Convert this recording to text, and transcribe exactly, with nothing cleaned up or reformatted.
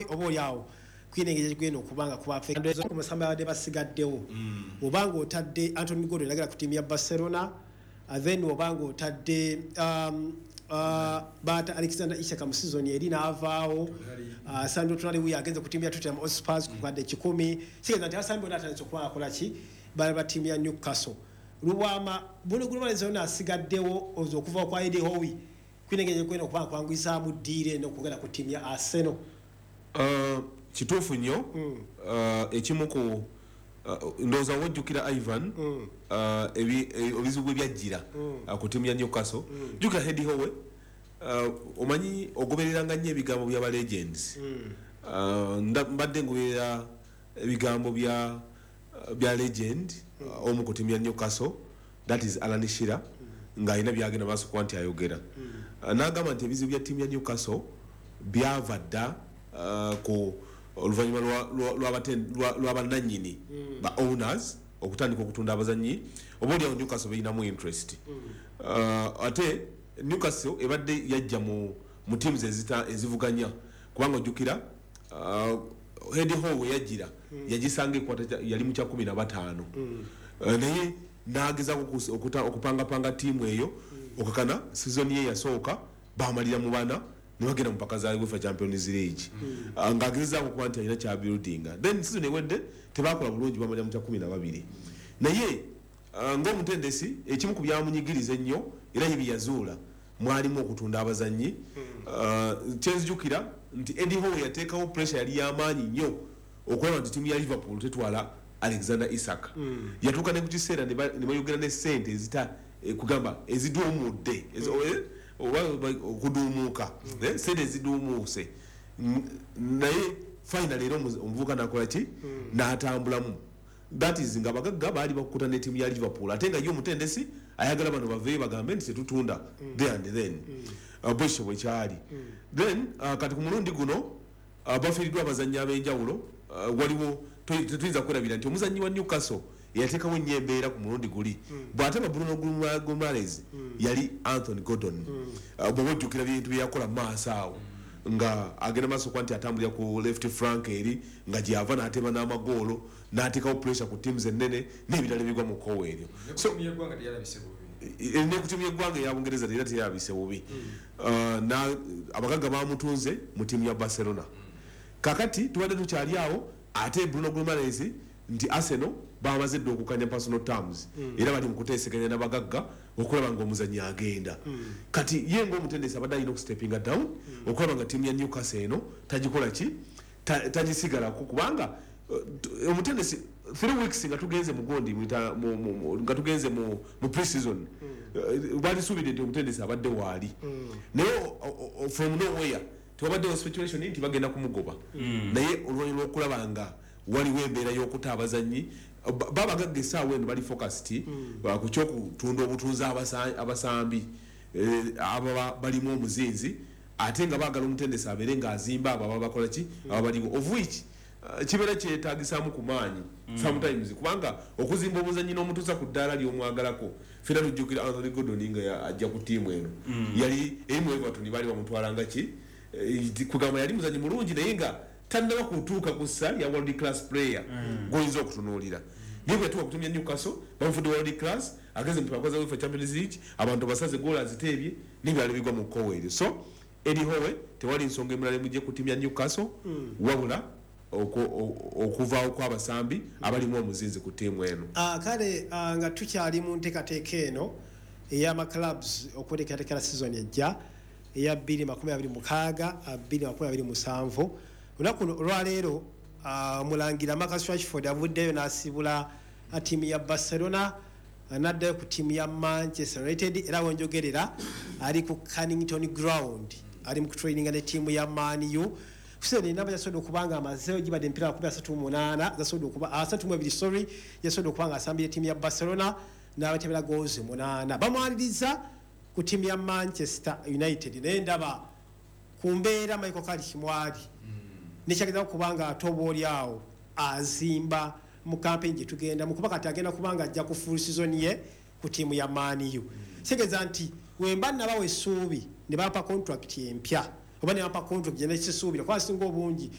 Oba oli awo kwina engeri gyegenda okubanga kuba omusambi abadde basigaddewo, obanga otadde Anthony Gordon yagala ku ttiimu ya Barcelona, uh, then obanga otadde um, uh, baata Alexander Isak mu season eri n'avaawo, uh, Sandro Tonali wuyo agenze ku ttiimu ya Tottenham Hotspurs ku kadde kikumi. Kitegeeza nti abasambi bonna atandise okuba akola ki, bali ba ttiimu ya Newcastle. Lubwama, Bruno Guimaraes yonna asigaddewo oza okuva kwa Eddie Howe kwina engeri gyegenda okuba nga kwanguyizaamu ddiire eno okugenda ku ttiimu ya Arsenal. Uh, kituufu nnyo. uh, ekimu ku uh, ndowooza wojjukira, Ivan, uh, ebi- e- obizibu bwe byajjira uh, ku ttiimu ya Newcastle. Jjukira Eddie Howe, uh, omanyi ogobereranga nnyo ebigambo by'aba legends. Uh, nda- mbadde ngoberera ebigambo bya bya legend uh, omu ku ttiimu ya Newcastle, that is Alan Shearer, ng'alina byagenda maaso kuba nti ayogera. Uh, n'agamba nti ebizibu bya ttiimu ya Newcastle byava dda uh, ku oluvannyuma lwa- lwa- lw'abaten- lwa- lw'abannannyini ba owners okutandika okutunda abazannyi oba oliawo Newcastle berinamu interest. Uh, ate Newcastle ebadde yajja mu, mu teams ezita- ezivuganya, kubanga ojjukira uh, Eddie Howe yajjira yagisanga ekwata kya- yali mu kya kumi na bataano. Uh, naye n'agezaako okus- okuta- okupangapanga ttiimu eyo okakana season ye yasooka bamalira mu bana ne bagenda mu mpaka za UEFA Champions League. Uh, ng'agezezaako okuba nti alina kyabuildinga. Then season ewedde tebakola bulungi, bamalira mu kya kumi na babiri. Naye uh, ng'omutendesi, ekimu ku byamunyigiriza ennyo era ye bye yazuula mwalimu okutunda abazannyi. Uh, kyenzijukira nti Eddie Howe yateekawo pressure yali y'amaanyi nnyo okulaba nti ttiimu ya Liverpool tetwala Alexander Isak. Yatuuka ne ku kiseera ne ba- ne bayogera ne sente ezita eh, kugamba eziduumudde, ezi- eh, oba oba- okuduumuuka, eh, sente eziduumuuse. N- naye final era omuz- omuvubuka nakola ki, n'atambulamu. That is nga abagagga baali bakukuta ne ttiimu ya Liverpool, ate nga ye omutendesi ayagala bano baveeyo bagambe nti tetutunda there and then. Uh, bwekityo bwekyali. Then uh, kati ku mulundi guno uh, bafiiriddwa abazannyi ab'enjawulo. uh, waliwo to- tetuyinza kwerabira nti omuzannyi wa Newcastle eyateekawo ennyo embeera ku mulundi guli bw'ataba Bruno Guimaraes, yali Anthony Gordon. Uh, bw'oba ojjukira bintu byeyakola mu maaso awo nga agenda maaso kuba nti atambulira ku left flank eri nga gyava n'ateba n'amagoolo, n'ateekawo pressure ku teams ennene n'ebirala ebigwa mu kkowa eryo. So yeggwanga teyalabise bubi. Ne ku tiimu y'eggwanga eya Bungereza era teyabise bubi. Uh, na- abagagga bamutunze mu tiimu ya Barcelona. Kakati tubadde tukyali awo, ate Bruno Guimaraes nti Arsenal bamaze dda okukanya personal terms, era bali mu kuteeseganya n'abagagga okulaba nga omuzannyi agenda. Kati ye ngaomutendesi abadde alina okustepinga down okulaba nga tiimu ya Newcastle eno tagikola ki, Ta- tagisigalako, kubanga uh, t- omutendesi three weeks nga tugenze mu gondi mwita- mu- mu- mu- nga tugenze mu mu pre-season, uh, balisuubidde nti omutendesi abadde waali, naye o- o- o- from nowhere tewabaddewo speculation nti bagenda kumugoba. Naye oluvannyuma lw'okulaba nga waliwo embeera y'okuta abazannyi ba- babagagga essaawa eno bali focused uh, ku kyokutunda obutunzi abasa- abasambi eh, aba balimu omuzinzi, ate nga baagala omutendesi abeere ng'azimba abo ababa bakola ki, aba baliwo, of which uh, kibeera kyetagisaamu ku maanyi sometimes, kubanga okuzimba obuzannyi n'omutuusa ku ddaala ly'omwagalako. Fena tujjukira Anthony Gordon nga ya- ajja ku ttiimu eno yali eri mu Everton, baali bamutwalanga ki, eh, kugamba yali muzannyi mulungi naye nga tannaba kutuuka ku ssa lya world class player gwoyinza okutunuulira. Naye bwe yatuuka ku ttiimu ya Newcastle bamufudde world class, agenze mu mpaka za UEFA Champions League, abantu basaze goolo aziteebye n'ebirala bigwa mu kkowa eryo. So Eddie Howe tewali nsonga emulala emujje ku ttiimu ya Newcastle wabula oku- o- okuvaawo kw'abasambi abalimu omuzinzi ku ttiimu eno. Ah, kale ah, nga tukyali mu nteekateeka eno ey'amaclubs okweteekateekera season ejja eya twenty twenty-six twenty twenty-seven, olunaku olwaleero ah, omulangira Marcus Rashford avuddeyo n'asibula ah, ttiimu ya Barcelona, ah, n'addayo ku ttiimu ya Manchester United. Era wenjogerera ali ku Carrington Ground, ali mu kutraininga ne ttiimu ya Man U. Kuseera enamba yasobodde okuba nga amazeeyo gibadde emipiira makumi asatu mu munaana zasobodde okuba asatu mu ebiri, sorry, yasobodde okuba nga asambira ettiimu ya Barcelona n'abatebera goals munaana. Bamwaniriza ku ttiimu ya Manchester United, naye ndaba ku mbeera Michael Carrick mwali nekyageza kuba nga ate oba oli awo azimba mu campaign gye tugenda mu, kuba kati agenda kuba nga ajja ku full season ye ku ttiimu ya Man U. Kitegeeza nti wemba nabawa essuubi ne bampa contract empya oba ne bampa contract gye nekisuubira kuba singa obungi.